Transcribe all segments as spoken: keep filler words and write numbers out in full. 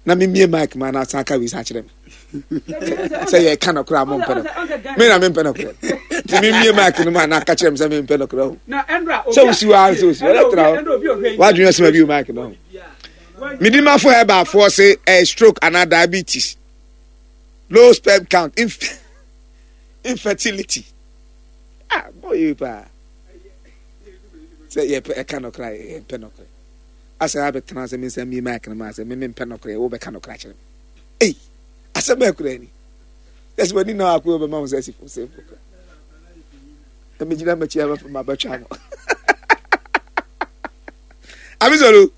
Na memie mic ma na asan ka wei san kyerɛ me sɛ yɛka nɔkorɛ a mompɛ no. Me na mempɛ nɔkorɛ, nti memie mic no ma na aka kyerɛ me sɛ mempɛ nɔkorɛ o. Sɛ wosi hɔ ara, sɛ wosi hɔ ɛtra hɔ, woadwene asɛm abi o. Mic no ho mede mafo herbaafoɔ se ɛyɛ stroke anaa diabetes, low sperm count, inf infertility Ah, bɔ yie paa sɛ yɛpɛ ɛka nɔkorɛ a yɛmpɛ nɔkorɛ. Asɛ abɛtena sɛ mensa mie mic no ma sɛ me mempɛ nɔkorɛ, wobɛka nɔkorɛ akyerɛ me. Ei, asɛm bɛɛ koraa ni. Yɛsɛ w'ani na akɔ bɛma wo sɛ asi fo sɛ mpo koraa na megyina m'akyi a mabɛtwa mo. Abisolo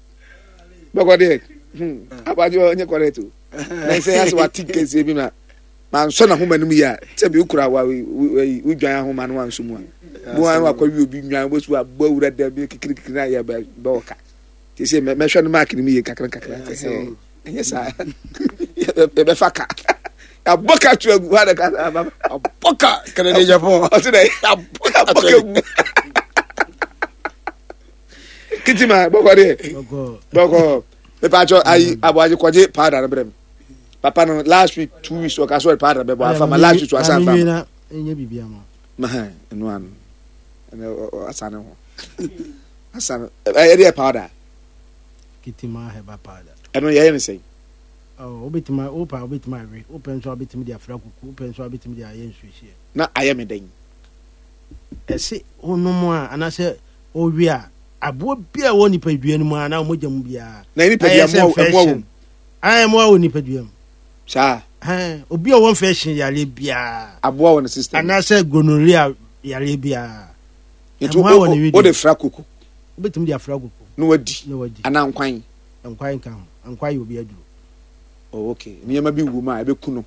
bɔkɔ deɛ, abagye ɔnyɛ correct o. Na sɛ yɛsɛ wate kɛseɛ bi ma mansɔ n'ahoma no mu yie a, sɛ bi wokura wa wodwan ahoma no wansɔ mu a, mo a wakɔ wi obi nwan wosu abɔ awura dɛm bi kikirikiri na yɛ bɛ bɛ ɔka te sɛ mɛhwɛ no maaki no mu yie kakra kakra. Sɛ ɛnyɛ saa, yɛbɛfa ka yɛabɔ ka to agu hɔ adaka abɔ ka Kennedy Agyapong. Ɔte dɛ yɛabɔ ka gu kitima bɔkɔ deɛ bɔkɔ. Mepatwɔ ayi aboagye kɔgye powder no brɛ me papa no. Last week, two weeks, ɔka so ɔde powder bɛbɔ afa ma last week ɔasa nfa ma ma ɛno ano ɛnɛ asa ne ho asa no. Ɛyɛ deɛ powder. Kitima herbal powder. Ɛno yɛyɛ ne sɛn? Wobɛtumi wopa, wobɛtumi awe, wopɛ nso a wobɛtumi de afra kuku, wopɛ nso a wobɛtumi de ayɛ nsuohyeɛ. Na ayɛ me dɛn? Ɛse wonom a anaasɛ wowe a, aboa bi a ɛwɔ nipadua no mu a anaa mogya mu biara. Na nipadua mmoa mmoa wɔ mu? Mmoa wɔ nipadua mu. Saa. Obi a ɔwɔ infection yareɛ biara. Aboa wɔ ne system. Anaasɛ gonorrhea yareɛ biara. Nti wode fra kuku? Wobɛtumi de afra kuku. Na wadi? Na wadi. Anaa nkwan? Nkwan nka ho. Nkwan yɛ obi aduro. Oh, okay. Nneɛma bi wɔ mu a ɛbɛku no.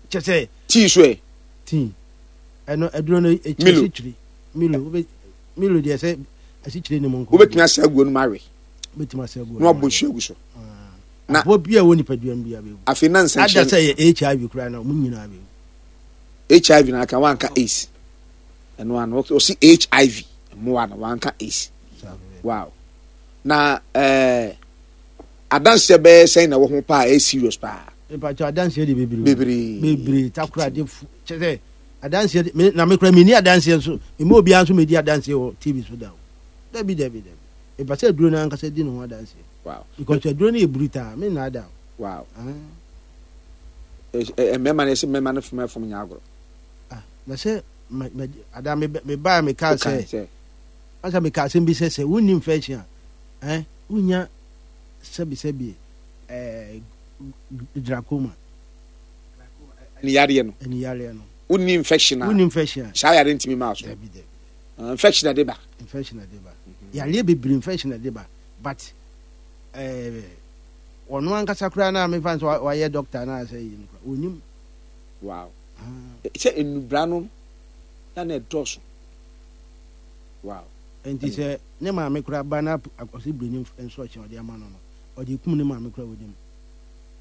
Kyɛ sɛ. Tii so ɛ? Tii ɛno aduro no ɛkyiri asikyire. Milo, wobɛ Milo deɛ sɛ asikyire ne mu nko. Wobɛtumi asa aguo no mu awe? Wobɛtumi asa aguo. Na wabɔ nsuo agu so. Na aboa bi a ɛwɔ nipadua mu bi a bɛwu. Afei na nsɛnkyerɛ. Ada sɛ yɛ H I V koraa na ɔmo nyinaa bɛwu. H I V na aka, wanka AIDS. Ɛno ano ɔsi H I V mmoa no, wanka AIDS. Wow, na ɛɛ adanseɛ bɛyɛ sɛn na ɛwɔ ho paa? Ɛyɛ serious paa. Mpatwa adanseɛ de bebree. Bebree. Bebree takora de fu kyɛ sɛ adanseɛ de me na me kora mi ni adanseɛ nso emu obiara nso mi di adanseɛ wɔ T V so da o. Dabi, dabi, dabi, mpa sɛ aduro no ankasa di ne ho adanseɛ. Wow because aduro no yɛ brutal, me nna ada o. Wow, mmarima no yɛsɛ mmarima no fom ɛfom nyɛ agorɔ. Ah, na sɛ ma ma ada me me baa me kaa sɛ asa me kaa asɛm bi sɛ sɛ wonni infection a ɛn wonya sɛbisɛbi ɛɛ glaucoma. Ɛni yareɛ no. Ɛni yareɛ no. Wonni infection a. Wonni infection a. Saa yareɛ ntumi maa so. Dabi, dabi. Infection na de ba. Infection na de ba. Yareɛ bebree infection na de ba, but ɛɛ ɔno ankasa koraa na mefa nso wayɛ doctor na asɛ yi no koraa onim. Wow, sɛ nnubra no na na ɛdɔɔso. Wow. Nti sɛ ne maame koraa ba na ɔsɛ bireni nso ɔkyɛn ɔde ama no no ɔde kum ne maame koraa onim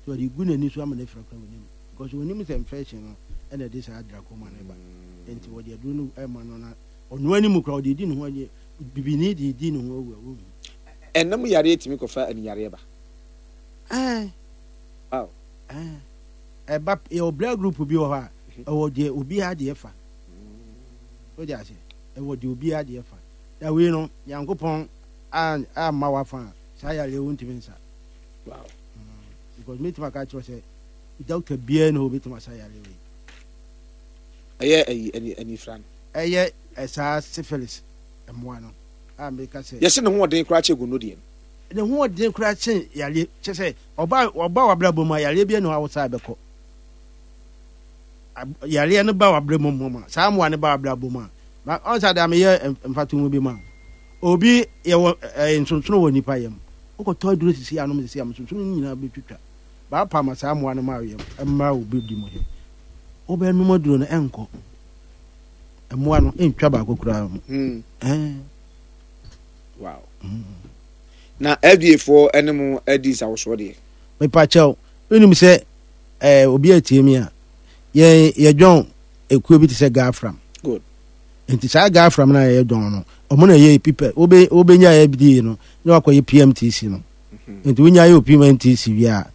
so ɔde gu n'ani so ama ne fira koraa onim, because onim sɛ infection no ɛna ɛde saa glaucoma no ba. Nti wɔde aduro no ɛma no na ɔno anim koraa ɔde di ne ho adi, bibini de di ne ho awu a wohu. Ɛnam yareɛ tumi kɔfa ani yareɛ ba? Ɛɛ. Wow. Ɛɛ, ɛba. Yɛwɔ blood group bi wɔ hɔ a ɛwɔ deɛ obiara deɛ fa o de ase, ɛwɔ deɛ obiara deɛ fa. Na wei no Nyankopɔn amma wafa a saa yareɛ wo ntumi nsa. Wow. Because metumi aka kyerɛ sɛ doctor biara ne hɔ obɛtumi asa yareɛ wei. Ɛyɛ ɛyi ɛni ɛnifra no? Ɛyɛ ɛsaa syphilis mmoa no a meka sɛ. Yɛsɛ ne ho ɔden koraa kyɛ gono deɛ no. Ne ho ɔden koraa kyɛn yareɛ kyɛ sɛ ɔba ɔba w'abrabɔ mu a, yareɛ bi ne hɔ a wosaa bɛkɔ. Yareɛ no ba w'abrabɔ mu a, saa mmoa no ba w'abrabɔ mu a, ɔn sɛ ada meyɛ mfatoho bi ma obi. Yɛwɔ ɛɛ nsonsono wɔ nipa yam. Wokɔtɔ aduro sisi anom sisi am, nsonsono no nyinaa bɛtwitwa baapa ma saa mmoa no ma yam mmaa obi di mu hɛ. Wobɛnom aduro no, ɛnkɔ, mmoa no ɛntwa baako koraa mu. Hmm. Ɛɛ. Wow, na F D A foɔ ɛne mo adi nsawosoɔ deɛ? Mepakyɛw, wonim sɛ ɛɛ obi atie mi a, yɛn yɛdwɔn ekuo bi te sɛ Gafram. Good. Nti saa Gafram no a yɛdɔn no, ɔmo na yɛ pipa wobe wobɛnya F D A no na wakɔyɛ P M T C no. Nti wonya yɛ P M T C wie a